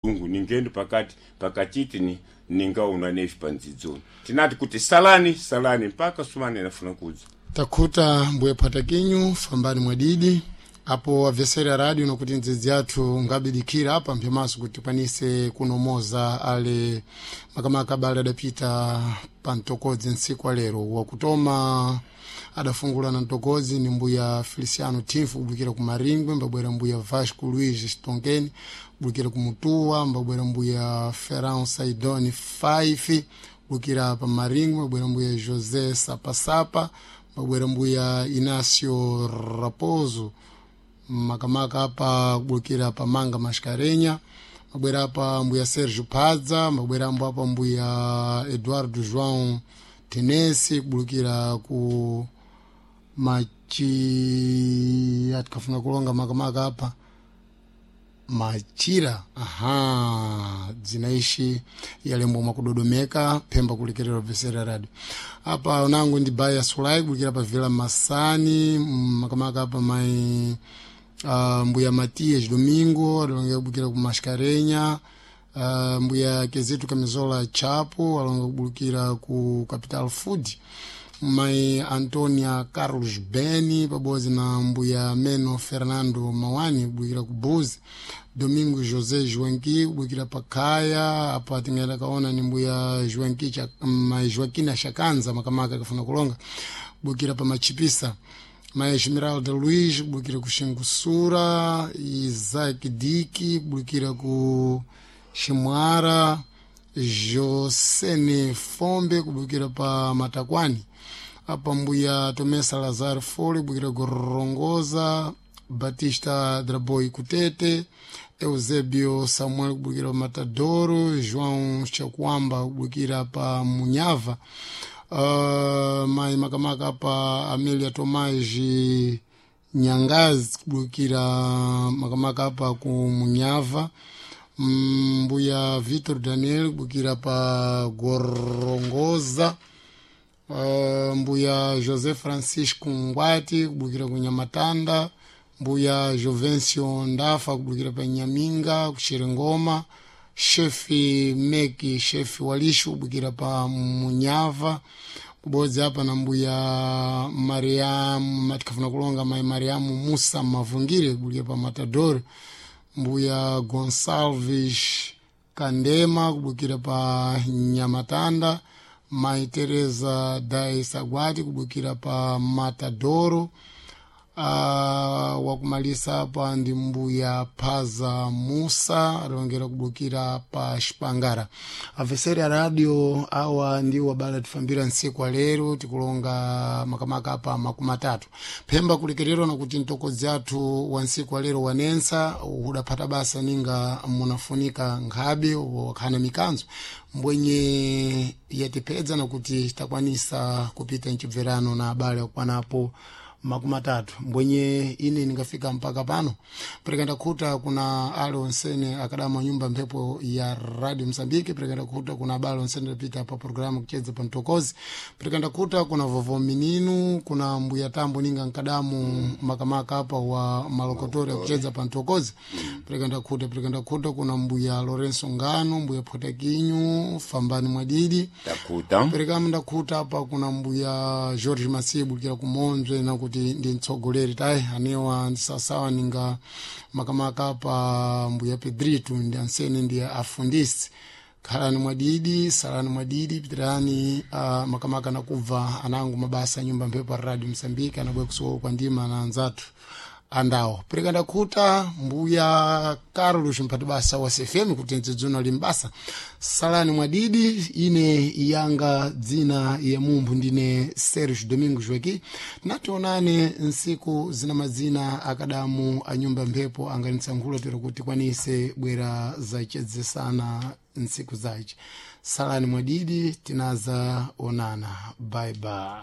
Mulungu ningendo pakati pakachiti ni ningaona nefi pandzidzoni tinati kuti salani salani mpaka sumani anafuna kudza. Takhuta mbuye phwatakinyu fambani mwadidi apo abvesera radio nokuti ndzidzi yathu ngabidikira apa mphemaso kuti tikwanise kunomoza ale makamaka abale adapita pa mtokodzi ntsiku alero. Wakutoma adafungula na mtokodzi ni mbuya Feliciano Timfu kubukira ku Maringwe, mbabwera mbuya Vasco Luiz Stonkeni kubukira ku Mutuwa, mbabwera mbuya Ferran Saidoni Faifi kubukira pa Maringwe, mbabwera mbuya José Sapasapa, mbabwera mbuya Inácio Raposo makamaka apa kubukira pa Manga Mascarenya, mabwera apa mbuya Sergio Padza, mabwera ambo apa mbuya Eduardo João Tenesi kubulukira ku machi atikafuna kulonga makamaka apa machira aha dzinaishi yalembwa mwakudodomeka phemba kulekerera vesera radio apa unangu ndi baya sulai kubulukira pa Vila Masani makamaka apa mai mbuya Matias Domingo alonga kubulukira ku Mascarenya, mbuya Kezitu Kamizola Chapo alonga kubulukira ku Capital Food, mai Antonia Carlos Beni pabodzi na mbuya Meno Fernando Mawani kubulukira ku Buzi, Domingo José Joanqui kubulukira pa Kaya apa tingaenda kaona ni mbuya Joanqui cha, mai Joaquina Shakanza makamaka akafuna kulonga kubulukira pa Machipisa, mai Esmeralda Luiz kubulukira ku Xingusura, Isaac Diki kubulukira ku Ximwara, Josene Fombe kubukira pa Matakwani apa mbuya Tomé Salazar Fole kubukira ku Rongoza, Batista Draboi Kutete, Eusébio Samuel kubukira pa Matadoro, João Chakwamba kubukira pa Munhava, mai makamaka apa Amélia Tomás Nyangazi kubukira makamaka apa ku Munhava, mbuya Vitor Daniel kubukira pa Gorongoza, mbuya José Francisco Ngwati kubukira ku Nyamatanda, mbuya Jovencio Ndafa kubukira pa Nyaminga kuxerengoma, shefi Meki shefi Walishu kubukira pa Munhava, kubodzi apa na mbuya Mariamu matikafuna kulonga mai Mariamu Musa Mavungire kubukira pa Matador, mbuya Gonsalves Kandema kubukira pa Nyamatanda, mai Teresa Dai Sagwati kubukira pa Matadoro. Wakumalisa apa ndi mbuya Phaza Musa alongera kubukira pa Xipangara. Aveseri a radio awa ndiwo abale tifambira ntsiku alero tikulonga makamaka apa 30 phemba kulekererwa nakuti mtokodzi athu wa ntsiku alero wanensa udaphata basa ninga munafunika nkhabe wakhana mikanzo mbwenye yatipedza nakuti takwanisa kupita mchibverano na abale akwanapo 30 mbwenye ine ningafika mpaka pano perekanda khuta kuna ale onsene akadama nyumba mphepo ya radio Msambiki, perekanda khuta kuna abale onsene adapita pa programu kuchedza pa mtokozi, perekanda khuta kuna vovo mininu kuna mbuya tambo ninga nkadamu makamaka apa wa malokotori akuchedza pa mtokozi, perekanda khuta perekanda khuta kuna mbuya Lorenzo Ngano, mbuya Photakinyu fambani mwadidi Takuta perekamu ndakhuta apa kuna mbuya George Masibu kira kumonzwe nakuti ndi mtsogoleri tayi anewa ndisawasawa ninga makamaka pa mbuya Pedrito ndi ansene ndi afundisi. Khalani mwadidi salani mwadidi pitirani makamaka nakubva anangu mabasa nyumba mphepo a radio Msambiki anabwe kusowa kwa ndima na anzathu andawo. Pereka ndakhuta mbuya Carlos mphati basa wa CFM kuti ndzidzuna limbasa. Salani mwadidi ine yanga dzina ya mumphu ndine Sergio Domingo Joaqui. Nationane nsiku zina madzina akadamu a nyumba mphepo anganitsankhula tero kuti kwanise bwera zachedzesana nsiku zace. Salani mwadidi tinaza onana. Bye bye.